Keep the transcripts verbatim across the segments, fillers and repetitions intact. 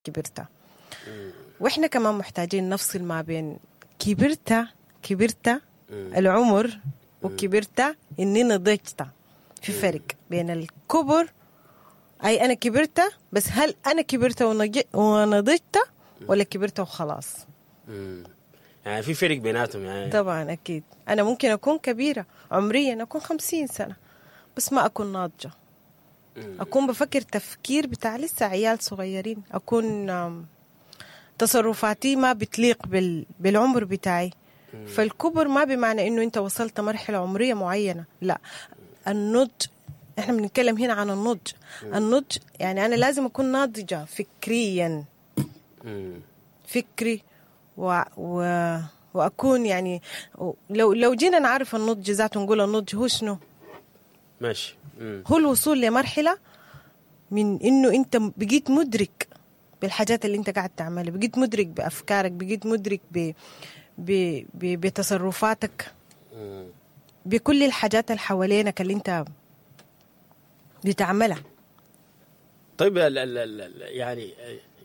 كبرت. واحنا كمان محتاجين نفصل ما بين كبرت كبرت العمر وكبرت اني نضجت. في فرق بين الكبر، اي انا كبرت، بس هل انا كبرت ونضجت ولا كبرت وخلاص؟ مم. يعني في فرق بيناتهم يعني. طبعا اكيد. انا ممكن اكون كبيرة عمريا، اكون خمسين سنة، بس ما اكون ناضجة. اكون بفكر تفكير بتاع لسه عيال صغيرين، اكون تصرفاتي ما بتليق بال... بالعمر بتاعي. فالكبر ما بمعنى انه انت وصلت مرحلة عمرية معينة، لا. النضج، احنا بنتكلم هنا عن النضج. النضج يعني انا لازم اكون ناضجة فكريا، فكري و... و... واكون يعني لو لو جينا نعرف النضج ذاته نقول النضج هو شنو؟ ماشي. مم. هو الوصول لمرحلة من انه انت بقيت مدرك بالحاجات اللي انت قاعد تعملها، بقيت مدرك بافكارك، بقيت مدرك ب... ب... ب... بتصرفاتك، مم. بكل الحاجات اللي حوالينك اللي انت بتعملها. طيب ال ال ال يعني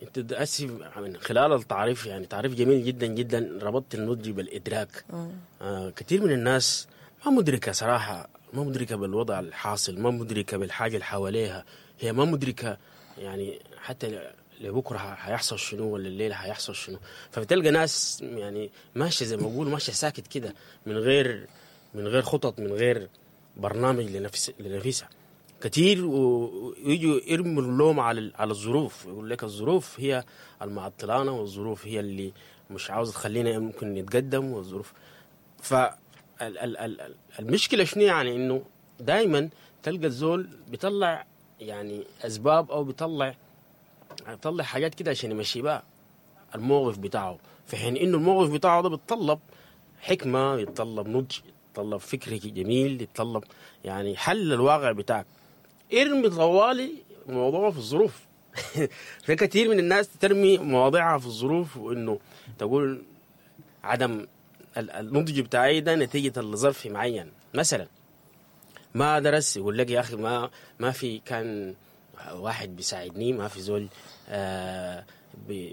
انت اسف من خلال التعريف، يعني تعريف جميل جدا جدا، ربطت النضج بالادراك. آه كثير من الناس ما مدركه صراحة، ما مدركه بالوضع الحاصل، ما مدركه بالحاجة اللي حواليها، هي ما مدركه يعني حتى لبكرة حيحصل شنو ولا الليلة حيحصل شنو. فبتلقى ناس يعني ماشية زي ما بقول ماشية ساكت كده، من غير من غير خطط، من غير برنامج لنفس لنفسها كثير، ويجوا يرموا اللوم على على الظروف، يقول لك الظروف هي المعطلانه، والظروف هي اللي مش عاوزه تخلينا ممكن نتقدم، والظروف. ف المشكلة شنو يعني؟ انه دائما تلقى الزول بيطلع يعني اسباب، او بيطلع بيطلع حاجات كده عشان يمشي بقى الموقف بتاعه، في حين انه الموقف بتاعه ده بيتطلب حكمه، يتطلب نضج، يتطلب فكر جميل، يتطلب يعني حل الواقع بتاعك. ارمي طوالي موضوعه في الظروف. في كثير من الناس ترمي مواضيعها في الظروف، وانه تقول عدم النضج بتاعي ده نتيجة لظرف معين. مثلا ما درس، يقول لك يا اخي ما ما في كان واحد بيساعدني، ما في زول آه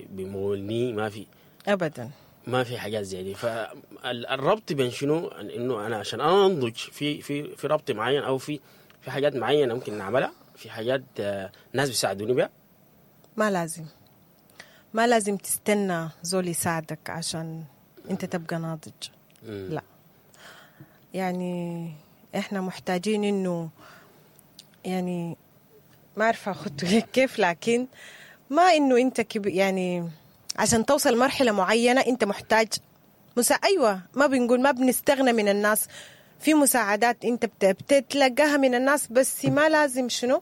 بيمولني، ما في ابدا، ما في حاجات زي دي. فالربط بين شنو؟ انه انا عشان انا انضج في في في ربط معين، او في في حاجات معينة ممكن نعملها، في حاجات آه ناس بيساعدوني بها. ما لازم ما لازم تستنى زول يساعدك عشان انت تبقى ناضج. مم. لا، يعني احنا محتاجين انه يعني ما عارفه اخدته كيف، لكن ما انه انت كب يعني عشان توصل مرحلة معينة انت محتاج مسا... ايوه، ما بنقول ما بنستغنى من الناس، في مساعدات انت بتتلقاها من الناس، بس ما لازم شنو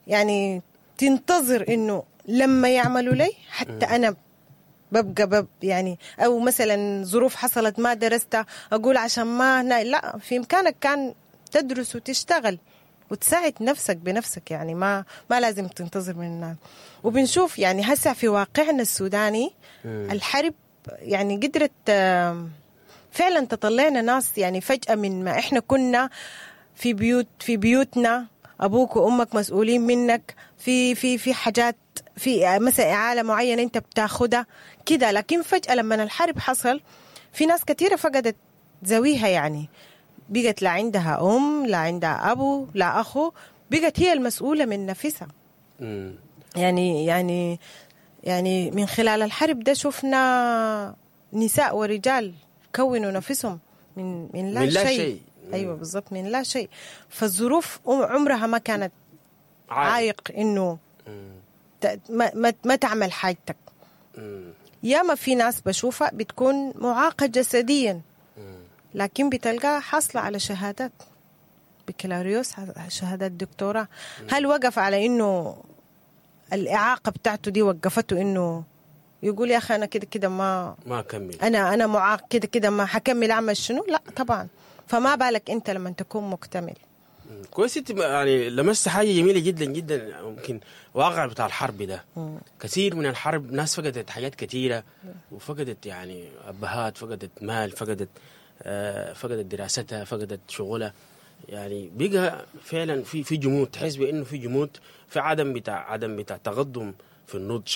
يعني تنتظر انه لما يعملوا لي حتى انا ببقى بب يعني، او مثلا ظروف حصلت ما درست اقول عشان ما هنا. لا، في امكانك كان تدرس وتشتغل وتساعد نفسك بنفسك، يعني ما ما لازم تنتظر من الناس. وبنشوف يعني هسه في واقعنا السوداني الحرب يعني قدرت فعلا تطلعنا ناس يعني فجأة من ما احنا كنا في بيوت في بيوتنا، ابوك وامك مسؤولين منك في في في حاجات، في مثلا إعالة معينة انت بتاخدها كده، لكن فجأة لما الحرب حصل في ناس كثيرة فقدت زويها، يعني بقت لا عندها أم، لا عندها أبو، لا أخو، بقت هي المسؤولة من نفسها. مم. يعني يعني يعني من خلال الحرب ده شفنا نساء ورجال كونوا نفسهم من من لا, من لا شيء, شيء. أيوة بالضبط، من لا شيء. فالظروف عمرها ما كانت عائق إنه ما, ما, ما تعمل حاجتك. ياما في ناس بشوفها بتكون معاقة جسديا، لكن بتلقاها حاصلة على شهادات بكالوريوس، شهادات دكتوراه. هل وقف على إنه الإعاقة بتاعته دي وقفته إنه يقول يا أخي أنا كده كده ما ما أكمل، أنا أنا معاق كده كده ما حكمل أعمل شنو؟ لا طبعا. فما بالك أنت لما تكون مكتمل. كويس، انت يعني لمست حاجة جميلة جدا جدا، ممكن واقع بتاع الحرب ده. مم. كثير من الحرب ناس فقدت حاجات كثيرة، وفقدت يعني ابهات، فقدت مال، فقدت آه فقدت دراستها، فقدت شغلها، يعني بقى فعلا في في جمود، تحس بانه في جمود، في عدم بتاع عدم بتاع تقدم في النضج.